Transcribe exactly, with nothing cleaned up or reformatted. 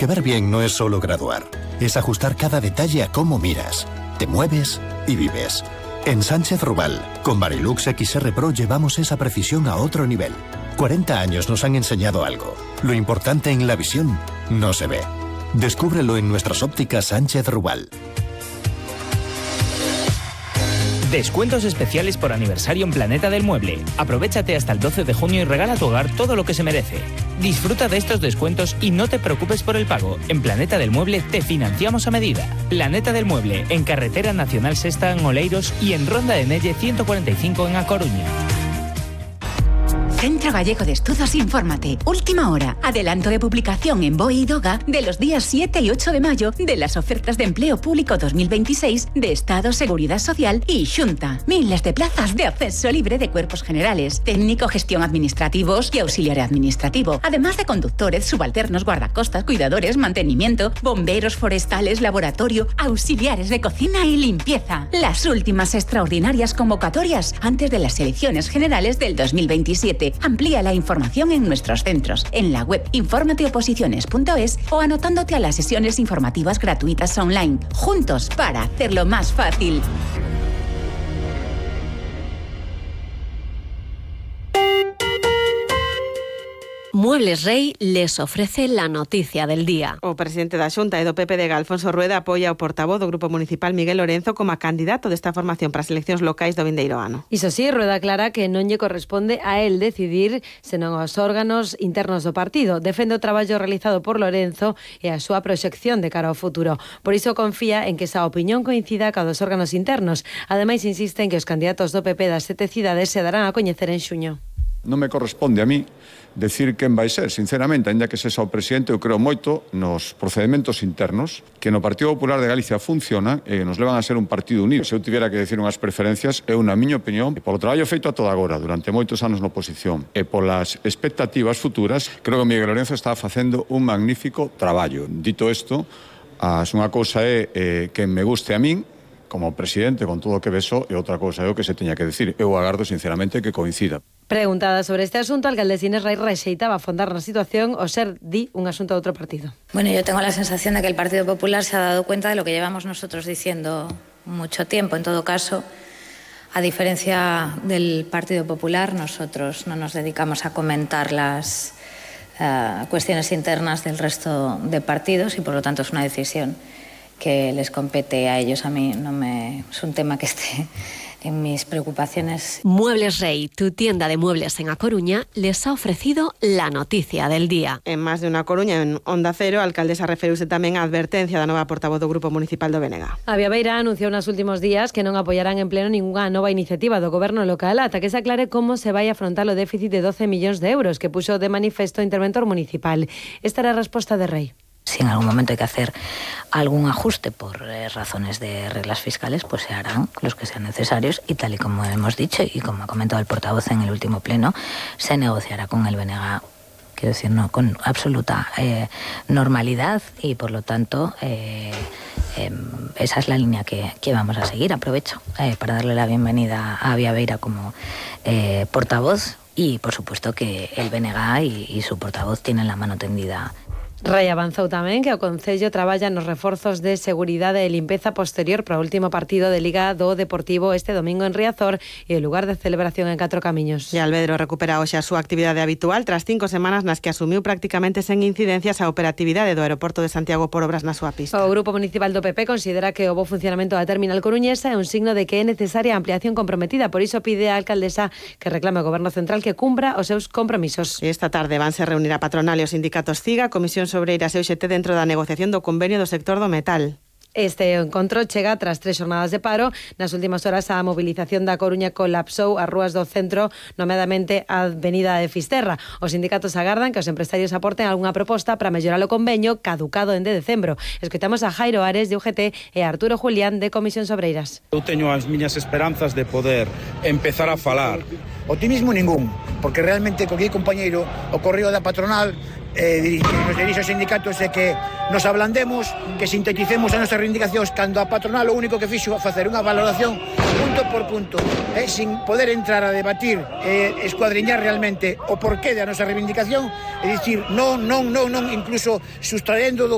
Que ver bien no es solo graduar, es ajustar cada detalle a cómo miras, te mueves y vives. En Sánchez Rubal, con Varilux X R Pro llevamos esa precisión a otro nivel. cuarenta años nos han enseñado algo. Lo importante en la visión no se ve. Descúbrelo en nuestras ópticas Sánchez Rubal. Descuentos especiales por aniversario en Planeta del Mueble. Aprovéchate hasta el doce de junio y regala a tu hogar todo lo que se merece. Disfruta de estos descuentos y no te preocupes por el pago. En Planeta del Mueble te financiamos a medida. Planeta del Mueble, en Carretera Nacional Sexta en Oleiros y en Ronda de Nelle ciento cuarenta y cinco en A Coruña. Centro Gallego de Estudos Infórmate. Última hora. Adelanto de publicación en B O E y DOGA de los días siete y ocho de mayo de las ofertas de empleo público dos mil veintiséis de Estado, Seguridad Social y Xunta. Miles de plazas de acceso libre de cuerpos generales, técnico, gestión administrativos y auxiliar administrativo. Además de conductores, subalternos, guardacostas, cuidadores, mantenimiento, bomberos forestales, laboratorio, auxiliares de cocina y limpieza. Las últimas extraordinarias convocatorias antes de las elecciones generales del dos mil veintisiete. Amplía la información en nuestros centros, en la web informateoposiciones punto es o anotándote a las sesiones informativas gratuitas online. Juntos para hacerlo más fácil. Muebles Rey les ofrece la noticia del día. O presidente da Xunta e do P P de Alfonso Rueda apoia o portavoz do Grupo Municipal Miguel Lorenzo como candidato desta formación para as eleccións locais do vindeiro ano. Iso sí, Rueda aclara que non lle corresponde a él decidir senón aos órganos internos do partido. Defende o traballo realizado por Lorenzo e a súa proxección de cara ao futuro. Por iso confía en que esa opinión coincida ca dos órganos internos. Ademais, insiste en que os candidatos do P P das sete cidades se darán a coñecer en xuño. Non me corresponde a mí decir quen vai ser, sinceramente, ainda que sexa o presidente, eu creo moito nos procedementos internos, que no Partido Popular de Galicia funciona e nos levan a ser un partido unido. Se eu tivera que decir unhas preferencias, é unha miña opinión, e polo traballo feito a toda agora, durante moitos anos na oposición, e polas expectativas futuras, creo que Miguel Lorenzo está facendo un magnífico traballo. Dito isto, as unha cousa é eh, que me guste a min, como presidente, con todo o que beso, e outra cousa é o que se teña que decir. Eu agardo, sinceramente, que coincida. Preguntada sobre este asunto, a alcaldesa Inés Rey rexeitaba afondar na situación o ser, di, un asunto de outro partido. Bueno, yo tengo la sensación de que el Partido Popular se ha dado cuenta de lo que llevamos nosotros diciendo mucho tiempo. En todo caso, a diferencia del Partido Popular, nosotros no nos dedicamos a comentar las uh, cuestiones internas del resto de partidos y, por lo tanto, es una decisión que les compete a ellos. A mí no me es un tema que esté en mis preocupaciones. Muebles Rey, tu tienda de muebles en A Coruña, les ha ofrecido la noticia del día. En máis de unha Coruña, en Onda Cero, a alcaldesa referiuse tamén á advertencia da nova portavoz do Grupo Municipal do Bénega. A Viabeira anunciou nos últimos días que non apoiarán en pleno ningunha nova iniciativa do goberno local ata que se aclare como se vai afrontar o déficit de doce millóns de euros que puxo de manifesto o interventor municipal. Esta era a resposta de Rey. Si en algún momento hay que hacer algún ajuste por eh, razones de reglas fiscales, pues se harán los que sean necesarios y tal y como hemos dicho y como ha comentado el portavoz en el último pleno, se negociará con el B N G, quiero decir, no, con absoluta eh, normalidad y por lo tanto eh, eh, esa es la línea que, que vamos a seguir. Aprovecho eh, para darle la bienvenida a Viabeira como eh, portavoz y por supuesto que el B N G y, y su portavoz tienen la mano tendida. Rei avanzou tamén que o Concello traballa nos reforzos de seguridade e limpeza posterior para o último partido de Liga do Deportivo este domingo en Riazor e o lugar de celebración en Catro Camiños. E Alvedro recupera hoxe a súa actividade habitual tras cinco semanas nas que asumiu prácticamente sen incidencias a operatividade do aeroporto de Santiago por obras na súa pista. O Grupo Municipal do P P considera que o bo funcionamento da terminal coruñesa é un signo de que é necesaria a ampliación comprometida, por iso pide a alcaldesa que reclame ao Goberno Central que cumpra os seus compromisos. E esta tarde vanse reunir a patronal e os sindicatos CIGA, Comisión Sobreiras e U X T dentro da negociación do convenio do sector do metal. Este encontro chega tras tres xornadas de paro. Nas últimas horas a movilización da Coruña colapsou as rúas do centro, nomeadamente a Avenida de Fisterra. Os sindicatos agardan que os empresarios aporten algunha proposta para mellorar o convenio caducado en de decembro. Escoitamos a Jairo Ares de U G T e a Arturo Julián de Comisión Sobreiras. Eu teño as miñas esperanzas de poder empezar a falar. Optimismo ningún, porque realmente co que compañeiro o correo da patronal eh, nos dirige aos sindicatos é que nos ablandemos, que sinteticemos as nosas reivindicacións cando a patronal o único que fixo facer unha valoración punto por punto, eh, sin poder entrar a debatir, eh, escuadriñar realmente o porqué da nosa reivindicación, é dicir, non, non, non, non, incluso sustraendo do